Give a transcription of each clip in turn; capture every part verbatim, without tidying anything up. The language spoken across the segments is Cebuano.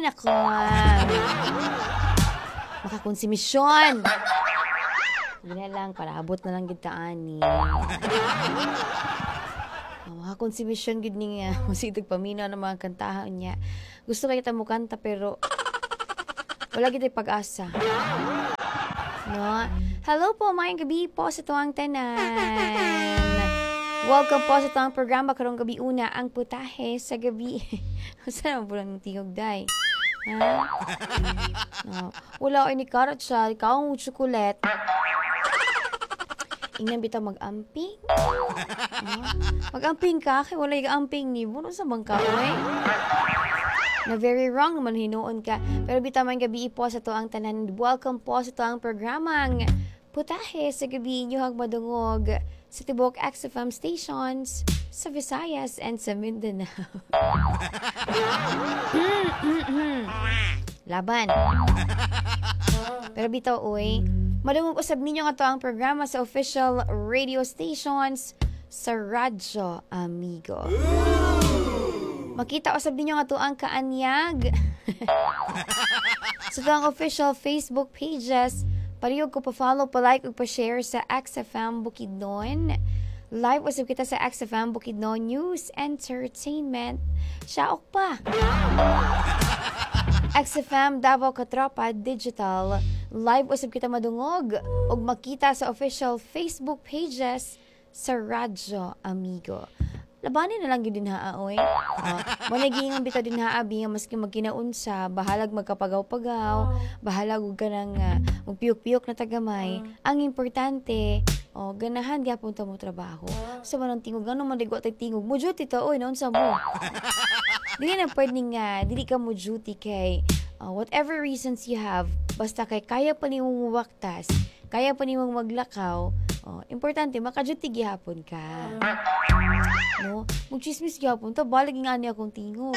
Ay, nako. Makakonsumisyon. Sige na lang, para abot na lang gid ta ani. Oh, makakonsumisyon gid ni nga. Masigdag paminaw ng mga kantahan niya. Gusto kay kita mo kanta pero wala gid pag-asa. No? Hello po, maayong gabi po sa tuwang tanan. Welcome po sa tuwang programa karong gabi una ang putahe sa gabi. Saan mo po lang tingog day? Ha? No. Wala ay ni karat siya, ikaw ang chocolate. Ingnan bitaw mag-amping. No? Mag-amping ka, kay wala yung amping ni mo. Sa bang ka, oy? Na very wrong naman hinuon ka. Pero bitaw man gabi po sa tuang tanan. Welcome po sa tuang programang Putahe sa Gabi inyo madungog sa tibok X F M stations sa Visayas and sa Mindanao. Laban. Pero bitaw, oy, madungog usab ninyo nga to ang programa sa official radio stations sa Radyo Amigo. Makita usab ninyo nga to ang kaanyag sa to ang official Facebook pages. Pariyog ko pa-follow, pa-like, ug pa-share sa X F M Bukidnon. Live usab kita sa X F M Bukidnon News Entertainment. Siyaok pa! X F M Davao Katropa Digital. Live usab kita madungog ug makita sa official Facebook pages sa Radyo Amigo. Labanin na lang yun din haa, oy. Uh, Managingan bitaw din haa, bi nga maski magkinaunsa, bahalag magkapagaw-pagaw, bahalag ug ka ng uh, magpiyok-piyok na tagamay. Ang importante, oh, ganahan gyapon ta mo trabaho. Sa man ang tingog, ano man ligwa tay tingog mo duty ta, oy, naunsa mo. Dili na pwede nga, dili ka mo duty kay uh, whatever reasons you have, basta kay kaya pa nimong muwaktas, kaya pa nimong maglakaw, oh, importante maka-duty gihapon ka. No? Magchismis gihapon ta, balag nga niya akong tingog.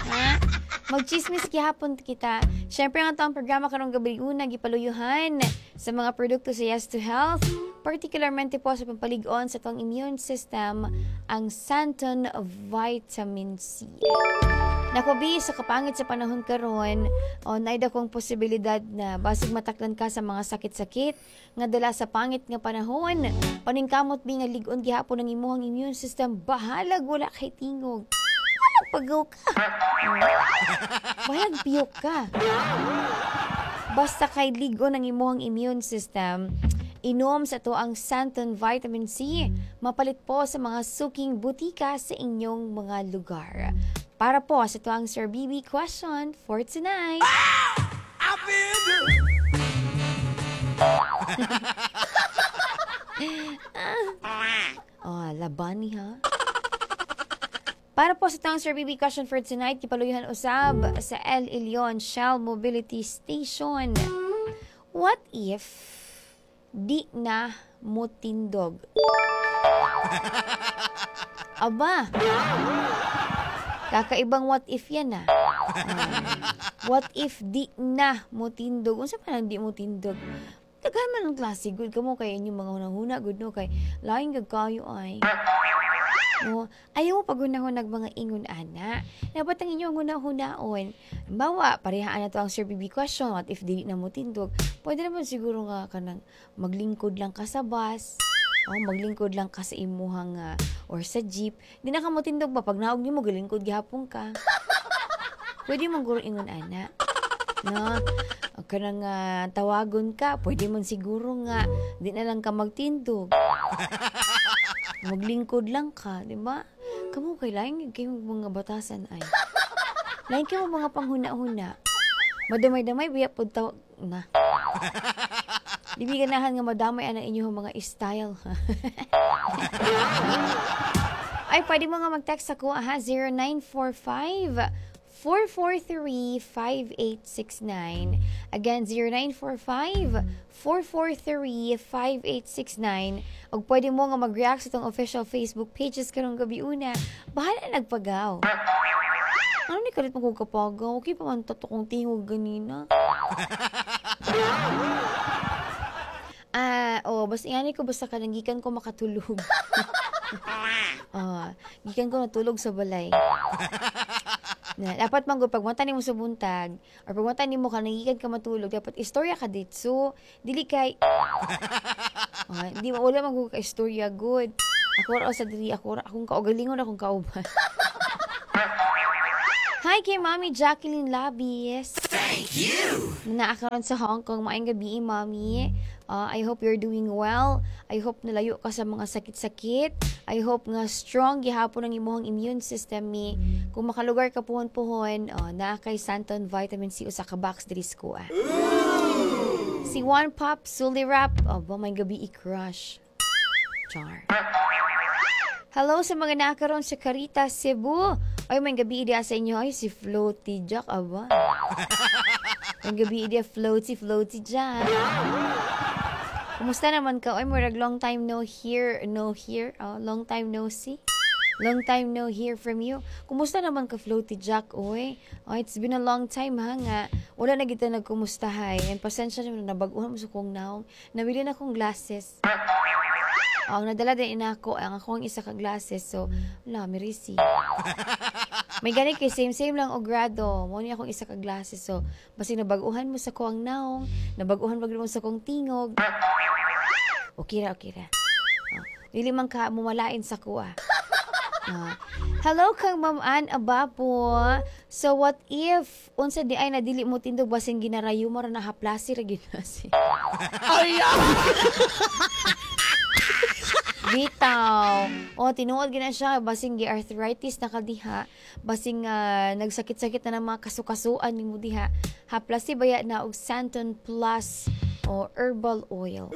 Ha? Magchismis gihapon kita. Syempre nga to ang programa karong gabi una gipaluyuhan sa mga produkto sa Yes to Health, particularmente po sa pampalig-on sa tuang immune system, ang Santon Vitamin C. Nako bi, sa kapangit sa panahon karon, o naida kong posibilidad na basig mataklan ka sa mga sakit-sakit nga dala sa pangit nga panahon. Paningkamot bi nga lig-on gihapon ang imuhang immune system, bahalag wala kay tingog. Bahalag pagaw ka. Bahalag piyok ka. Basta kay lig-on ang imuhang immune system, inom sa to ang Santon Vitamin C, mapalit po sa mga suking butika sa inyong mga lugar. Para po sa tuwang Sir B B question for tonight. Ah! I feel good. Oh, labani ha. Para po sa tuwang Sir B B question for tonight, kipaluyuhan usab sa El Ilion Shell Mobility Station. What if di na mo tindog? Aba! Kakaibang what if yan ah. Uh, what if di na mo tindog? Unsa pa nang di mo tindog? Daghan man ang klase, good ka mo kay inyong mga hunahuna, good no kay laing gag kayo ay. No, ayaw mo paghunahunag mga ingon ana. Dapat ang inyong hunahunaon. Halimbawa, parehaan na to ang Sir B B question, what if dili na mo tindog? Pwede naman siguro nga kanang maglingkod lang ka sa bus. Oh, maglingkod lang ka sa imuhang uh, or sa jeep. Di na ka mo tindog ba pag naog nimo galingkod gihapon ka. Pwede man guro ingon ana. No? O kanang uh, tawagon ka, pwede man siguro nga di na lang ka magtindog. Maglingkod lang ka, di ba? Kamo kay lain kayo mga batasan ay. Lain kayo mga panghuna-huna. Madamay-damay biya pud taw na. Di bi ganahan nga madamay ana inyong mga style. Ay, pwede mo nga mag-text ako, aha, zero nine four five, four four three, five eight six nine. Again, zero nine four five, four four three, five eight six nine. Og pwede mo nga mag-react sa itong official Facebook pages karong gabi una. Bahala nagpagaw. Ano ni kalit mo kung kapagaw? Okay pa man tato kong tingog ganina. Ah, oh, basta ingani ko basta kanang gikan ko makatulog. Ah, gikan ko natulog sa balay. Na, dapat man gud pag mata nimo sa buntag or pag mata nimo ka nangikan ka matulog, dapat istorya ka ditso. Dili kay ah, di mo wala man gud ka istorya good. Ako ra sa diri ako ra akong kaugalingon akong kauban. Hi kay Mommy Jacqueline Labis. Thank you. Naa karon sa Hong Kong. Maayong gabi, Mommy. Uh, I hope you're doing well. I hope nalayo ka sa mga sakit-sakit. I hope nga strong gihapon ang imong immune system mi. Kung makalugar ka puhon-puhon, uh, naa kay Santon Vitamin C usa ka box diri sa kuha. Si One Pop Sulirap, oh, ba may gabi i-crush. Char. Hello sa mga naa karon sa Caritas, Cebu. Ay, may gabi diya sa inyo. Ay, si Floaty Jack, aba. May gabi diya, Floaty, Floaty Jack. Kumusta naman ka? Ay, murag long time no hear, no hear. Oh, long time no see. Long time no hear from you. Kumusta naman ka, Floaty Jack? Oy, oh, it's been a long time ha nga. Wala na kita nagkumustahay. And pasensya naman, nabaguhan mo sa kong naong. Nabili na akong glasses. Oh, ang nadala din inako ang akong isa ka glasses. So, wala, mirisi. May gani kay same same lang og grado. Mo ni akong isa ka glasses. So, basi nabaguhan mo sa kuang naong, nabaguhan mo sa kong tingog. Okay ra, okay ra. Oh, dili man ka mumalain sa kuha. Ah. Hello kang Ma'am Ann Abapo. So what if unsa di ay na dili mo tindog basin ginarayo mo ra na haplasi ra gyud na si. Bitaw. O, tinuod gina siya. Basing gi-arthritis na ka diha. Basing ah, nagsakit-sakit na ng mga kasukasuan nimo diha. Haplasi baya na og Santon Plus o herbal oil.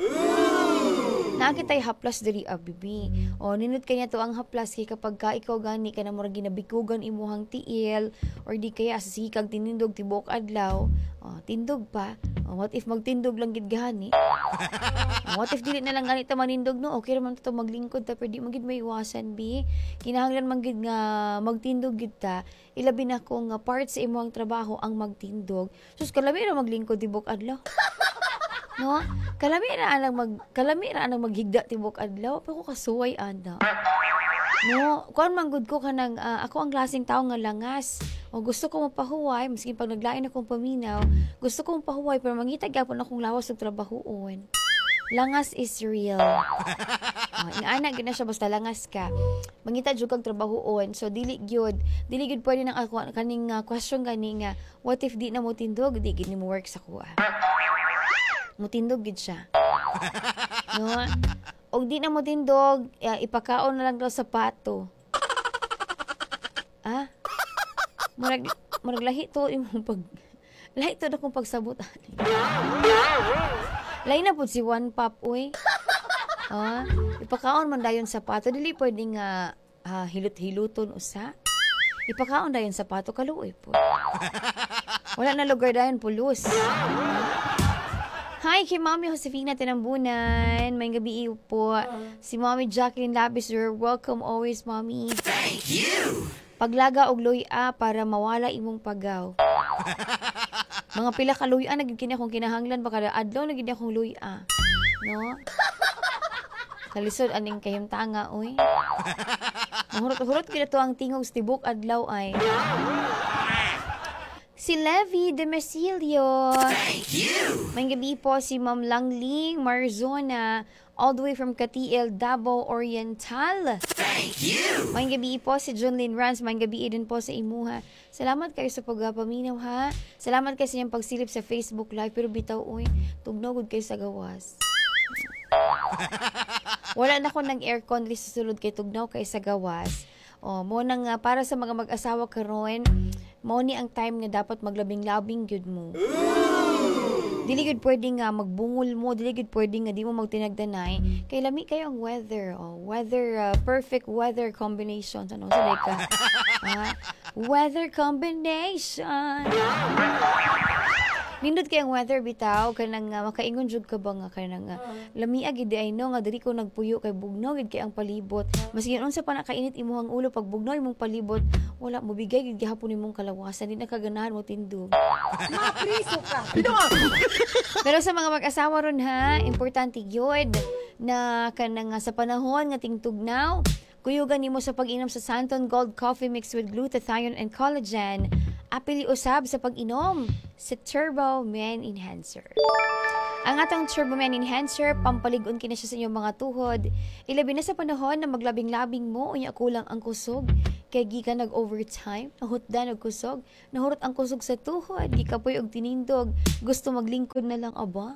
Naa kitay haplas diri ah, bibi. O ninot kanya to ang haplas kay kapag ka ikaw gani ka na murag ginabikugan imuhang tiil or di kaya sa sige kag tinindog tibuok adlaw, o, tindog pa. O, what if magtindog lang gid gani? O, what if dili na lang gani ta manindog no? Okay ra man to maglingkod ta pero di man gid maiwasan bi. Kinahanglan man gid nga magtindog gid ta. Ilabi na kung nga part sa imong trabaho ang magtindog. Sus kalami ra maglingkod tibuok adlaw. No? Kalami ra anang mag kalami ra anang maghigda tibuok adlaw pero kasuway ana. No, kuan man gud ko kanang ah, ako ang klaseng tao nga langas. O gusto ko mapahuway maski pag naglain akong paminaw, gusto ko mapahuway pero mangita gyapon akong lawas og trabahoon. Langas is real. Oh, ingana gyud na siya basta langas ka. Mangita jud kag trabahoon. So dili gyud, dili gyud pwede nang ako kaning ah, question gani nga what if di na mo tindog, di gyud nimo work sa kuha. Mutindog gyud siya. No? Og di na mo tindog, eh, ipakaon na lang daw sa pato. Ah? Murag murag lahi to imong pag lahi to na kong pagsabot ani. Lahi na pud si One Pop uy. Ah, ipakaon man dayon sa pato dili pwede nga ah, hilot-hiluton usa. Ipakaon dayon sa pato kaluoy po. Wala na lugar dayon pulos. Hi kay Mommy Josefina Tinambunan. May gabi po. Si Mommy Jacqueline Labis, you're welcome always, Mommy. Thank you. Paglaga og luya para mawala imong pagaw. Mga pila ka luya na gid kini akong kinahanglan baka adlaw na gid akong luya. No? Kalisod aning kahimtanga oy. Mahurot-hurot gid to ang tingog sa tibok adlaw ay. Si Levi de Mesilio. Thank you. May gabi po si Ma'am Langling Marzona all the way from Katiel, Davao Oriental. Thank you. May gabi po si Junlin Rans. May gabi din po sa imuha. Salamat kayo sa pagpaminaw ha. Salamat kayo sa inyong pagsilip sa Facebook Live. Pero bitaw, uy, tugnaw gud kayo sa gawas. Wala na ko ng aircon diri sa sulod kay tugnaw kay sa gawas. O, mo nang nga para sa mga mag-asawa karon, mao ni ang time nga dapat maglabing-labing gyud mo. Dili gyud pwede nga magbungol mo, dili gyud pwede nga di mo magtinagdanay. Kay lami kayo ang weather, oh, weather uh, perfect weather combination ano sa ka? Ah, weather combination. Nindot kay ang weather bitaw kanang uh, makaingon jud ka ba nga kanang uh, lamia gid ay no nga diri ko nagpuyo kay bugnaw gid kay ang palibot. Maski unsa pa nakainit imong ulo pag bugnaw imong palibot, wala mo bigay gid gihapon imong kalawasan, di na kaganahan mo tindog. Mapriso ka. Pero sa mga mag-asawa ron ha, importante gyud na kanang uh, sa panahon nga tingtugnaw, Kuyugan nimo sa pag-inom sa Santon Gold Coffee Mix with glutathione and collagen. Apili usab sa pag-inom sa Turbo Man Enhancer. Ang atong Turbo Man Enhancer, pampalig-on kini siya sa inyong mga tuhod. Ilabi na sa panahon na maglabing-labing mo, unya kulang ang kusog. Kay gikan nag-overtime, nahutdan og kusog, nahurot ang kusog sa tuhod, gikapoy og tinindog, gusto maglingkod na lang aba.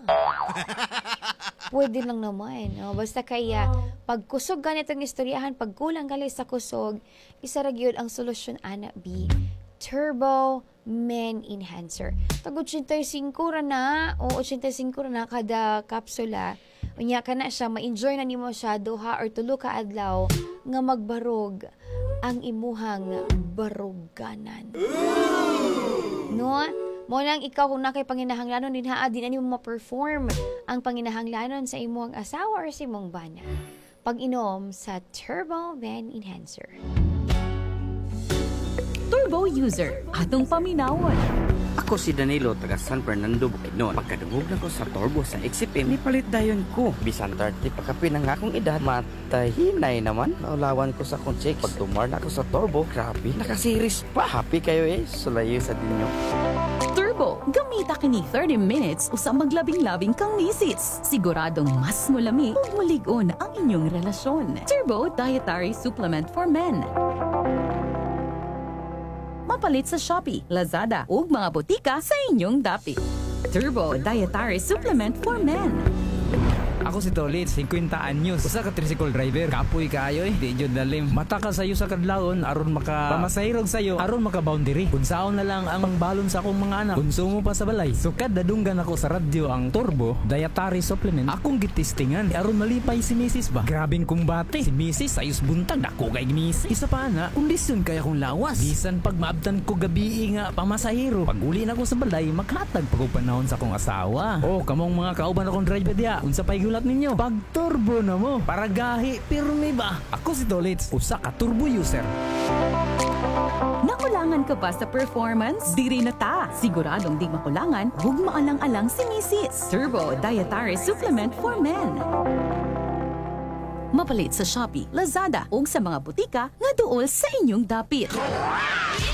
Pwede lang naman. No? Basta kaya, pag kusog ganitong istoryahan, pag kulang gali sa kusog, isa ra gyud ang solusyon ana B. Turbo Men Enhancer. Tag eighty-five ra na, o eighty-five ra na kada kapsula. Unya ka na siya, ma-enjoy na nimo siya duha or tulo ka adlaw nga magbarog ang imuhang baruganan. No? Mo nang ikaw kung nakay panginahanglanon din ha, di na nimo ma-perform ang panginahanglanon sa imong asawa or sa imong bana. Pag-inom sa Turbo Man Enhancer. Turbo user, atong paminawon. Ako si Danilo, taga San Fernando, Bukidnon. Pagkadungog na ko sa Turbo sa X F M, nipalit dayon ko. Bisan thirty pa kapin ang akong edad, matahinay naman. Naulawan ko sa akong chicks. Pag tumar na ako sa Turbo, grabe, nakasiris pa. Happy kayo eh, sulayo sa dinyo. Turbo, gamita kini thirty minutes usa maglabing-labing kang misis. Siguradong mas mulami ug mulig-on ang inyong relasyon. Turbo Dietary Supplement for Men. Mapalit sa Shopee, Lazada ug mga botika sa inyong dapit. Turbo Dietary Supplement for Men. Ako si Tolit, singkwenta anyos. Usa ka tricycle driver. Kapoy kaayo eh. Di jud lalim. Mata ka sayo sa kadlawon aron maka pamasahirog sayo, aron maka boundary. Unsaon na lang ang pangbalon sa akong mga anak. Konsumo pa sa balay. Sukad nadunggan ako sa radyo ang Turbo Dietary Supplement. Akong gitistingan aron malipay si Missus ba. Grabing kumbate. Si Missus ayos buntag dako kay Missus. Isa pa na, kondisyon kay akong lawas. Bisan pag maabtan ko gabi nga pamasahiro. Pag uli na ko sa balay, makatag pag panahon sa akong asawa. Oh, kamong mga kauban akong driver diya. Unsa pa'y gulat ninyo? Pag turbo na mo. Para gahi pirmi ba? Ako si Tolitz, usa ka turbo user. Nakulangan ka ba sa performance? Diri na ta! Siguradong di makulangan, ug maalang-alang si Missus Turbo Dietary Supplement for Men. Mapalit sa Shopee, Lazada ug sa mga botika nga duol sa inyong dapit.